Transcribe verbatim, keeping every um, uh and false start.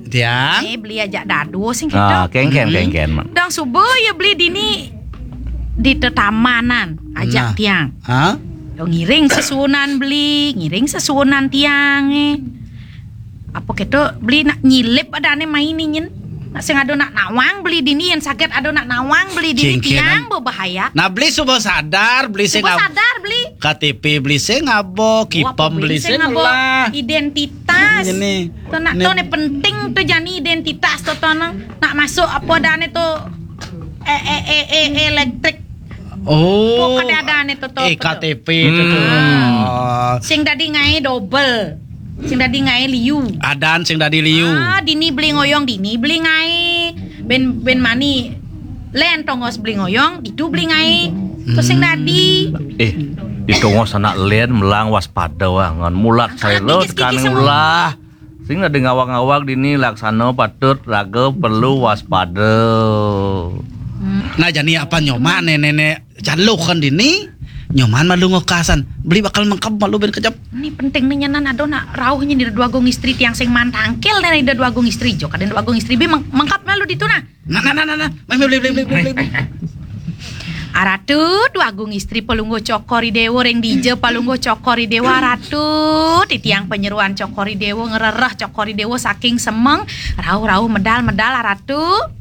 Tiang. Eh, beli ajak dado sing Ah, kita. kengken Hmm. kengken. Dang suba ya beli dini di tetamanan ajak Nah. tiang. Ha? Yo ngiring sesuunan beli, ngiring sesuunan tiang eh. Apa kita beli nak nyilip adane main ni nyen. Nak sing ada nak nawang beli dini yang sakit ada nak nawang beli dini Cengkenan. Tiang berbahaya. Nah, beli suba sadar, beli sing Suba ab- sadar beli. K T P beli sing abo, Wah, kipem beli sing abo lah. Identitas. Ini. Tu nak Ini. tu ni penting tu jani identitas tu tu nang. Nak masuk apa dah ni tu eh eh eh eh elektrik. Oh. Pokok ada ada ni tu tu. Eh, K T P itu tu. Hmm. Oh. Sing dadi ngai double. Sing dadi ngai liu. Adan sing dadi liu. Ah, dini beli ngoyong dini beli ngai. Ben ben mani len tongos beli ngoyong ditu beli ngai. Tu sing dadi. Eh, di tongos anak len melang waspada wah ngan mulat Angkat saya lo dikit-dikit tekaning sama. Ulah. Sing ada ngawag-ngawag dini laksana patut raga perlu waspada. Nah, jani apa nyoman nenek-nenek jalukan dini? Nyoman malu ngokasan. Beli bakal mengkap malu ben kejap. Ni penting ni nyanan ada nak rauh nyi di dua agung istri tiang sing mantangkil dari dua agung istri jo kadang dua agung istri bi meng- mengkap malu ditu nah. Nah, nah, nah, nah, nah. Mai, mai, beli, beli, beli, beli, beli. Aratu dua agung istri pelungguh cokor idewa ring dija pelungguh cokor idewa aratu titiang penyeruan cokor idewa ngerereh cokor idewa saking semeng rauh-rauh medal-medal aratu.